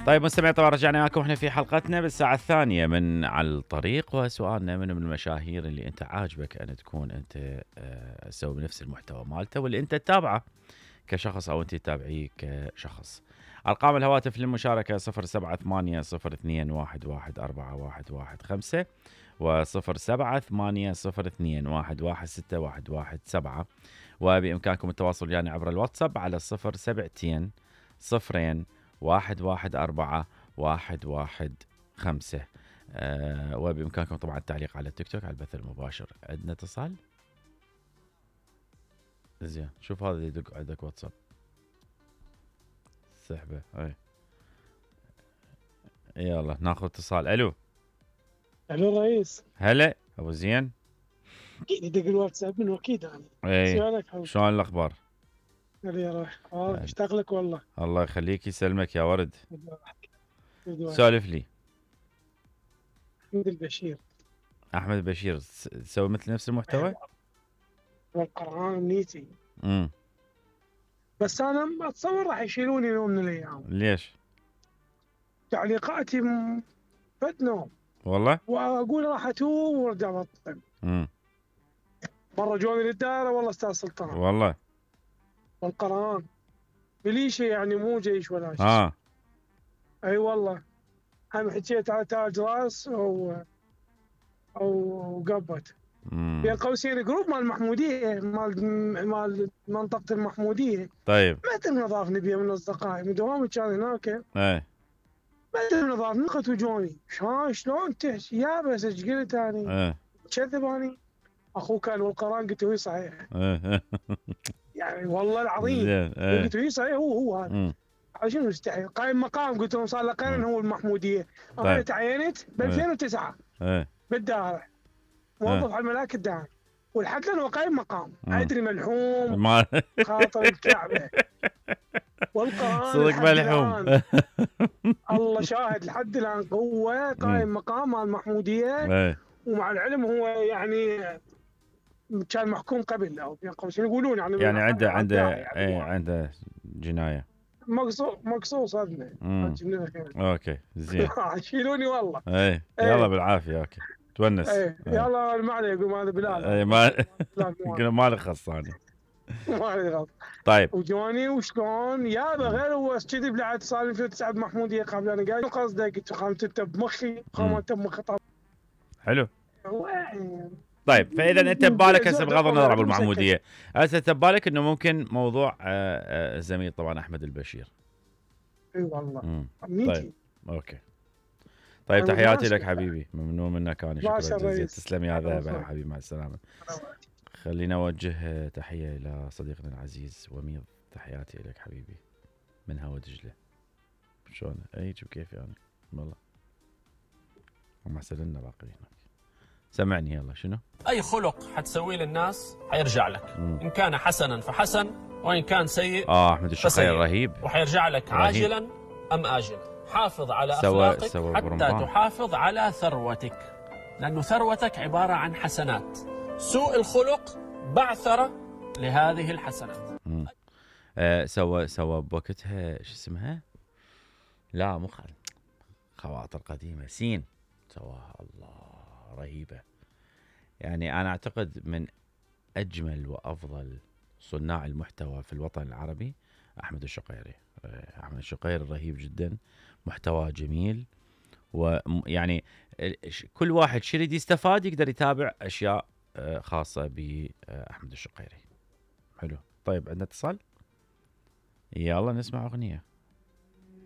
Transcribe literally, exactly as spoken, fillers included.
طيب مستمعين، طبعا رجعنا معكم احنا في حلقتنا بالساعة الثانية من على الطريق، وسؤالنا من من المشاهير اللي انت عاجبك ان تكون انت تسوي بنفس المحتوى مالته واللي انت تتابعه كشخص او انت تتابعيه كشخص. ارقام الهواتف للمشاركة صفر سبعة ثمانية صفر اثنين واحد واحد أربعة واحد واحد خمسة وصفر سبعة ثمانية صفر اثنين واحد واحد ستة واحد واحد سبعة، وبإمكانكم التواصل يعني عبر الواتساب على صفر سبعتين صفرين واحد واحد أربعة واحد واحد خمسة. أه وبإمكانكم طبعا التعليق على التيك توك على البث المباشر. عندنا اتصال؟ زين، شوف هذا يدق عندك واتساب سحبه. اي يلا ناخذ اتصال. الو الو رئيس. هلا ابو زين. اكيد يدق الواتساب من اكيد انا. اي شلون الاخبار؟ يا روح اه اشتاق لك والله. الله يخليك يسلمك يا ورد. سولف لي. احمد البشير. احمد البشير تسوي مثل نفس المحتوى؟ والقرآن امنيتي. امم بس انا اتصور راح يشيلوني يوم من الايام. ليش؟ تعليقاتي فد نوم والله، واقول راح اتوب وارجع بطل. امم مره جوني للدائره والله استاذ سلطان. والله والقرآن بليشه يعني مو جيش ولا شيء. اه اي والله. هم حكيت على تاج راس او او قبت بين قوسين جروب مال المحموديه مال مال منطقه المحموديه. طيب متى نضاف نبيه من اصدقائي من دوامي كان هناك. اي متى نضاف نقت وجوني شلون شلون تحكي يا بس ايش قلت اني؟ كذب اني. اخوه كان والقران قلت له صحيح. يعني والله العظيم قلت له صحيح هو هو هذا. شنو مستحيل قايم مقام قلت لهم صار له قرن هو المحموديه. انا تعينت ب ألفين وتسعة بالدائره موظف على الملاك الدائري والحد الان هو قايم مقام. ادري ملحوم خاطر الكعبه والقران صدق ملحوم. الله شاهد لحد الان هو قايم مقام مع المحموديه. ومع العلم هو يعني كان محكوم قبل او بين قوسين يقولون يعني يعني عنده عنده اي عنده جنايه مقصوص مقصوص صدمه. اوكي زين. شيلوني والله. اي يلا بالعافيه. اوكي تونس. ايه يلا ما عليه يقول هذا بلال. اي ما قلنا ما لي خص ثاني. ما لي خص. طيب وجوني وشلون يابا غير هو كذي بعد صار ألفين وتسعة بمحموديه قبل انا قايل قصدك قلت خامت انت بمخي خامت بمخي. حلو. طيب فاذا انت ببالك هسه بغض النظر ابو المحموديه هسه انت ببالك انه ممكن موضوع الزميل طبعا احمد البشير. اي والله. طيب اوكي. طيب تحياتي لك حبيبي، ممنون منك انا. شكرا جزيلا. تسلم يا ذهب حبيبي، مع السلامه. خلينا اوجه تحيه الى صديقنا العزيز وميض. تحياتي لك حبيبي من هوا دجله. شلون ايج وكيف يعني والله هم احسن باقي هناك. سمعني يلا شنو؟ اي خلق حتسويه للناس حيرجع لك. مم. ان كان حسنا فحسن وان كان سيء اه احمد الشقير رهيب وحيرجع لك رهيب. عاجلا ام اجلا. حافظ على سوا اخلاقك سوا حتى برمبان. تحافظ على ثروتك، لانه ثروتك عباره عن حسنات. سوء الخلق بعثره لهذه الحسنات. آه سوا سوا بوقتها شو اسمها؟ لا مو خواطر قديمه سين سواها الله رهيبه. يعني انا اعتقد من اجمل وافضل صناع المحتوى في الوطن العربي احمد الشقيري. احمد الشقيري رهيب جدا، محتوى جميل، ويعني كل واحد شو يريد يستفاد يقدر يتابع اشياء خاصه باحمد الشقيري. حلو. طيب عندنا اتصال، يلا نسمع اغنيه.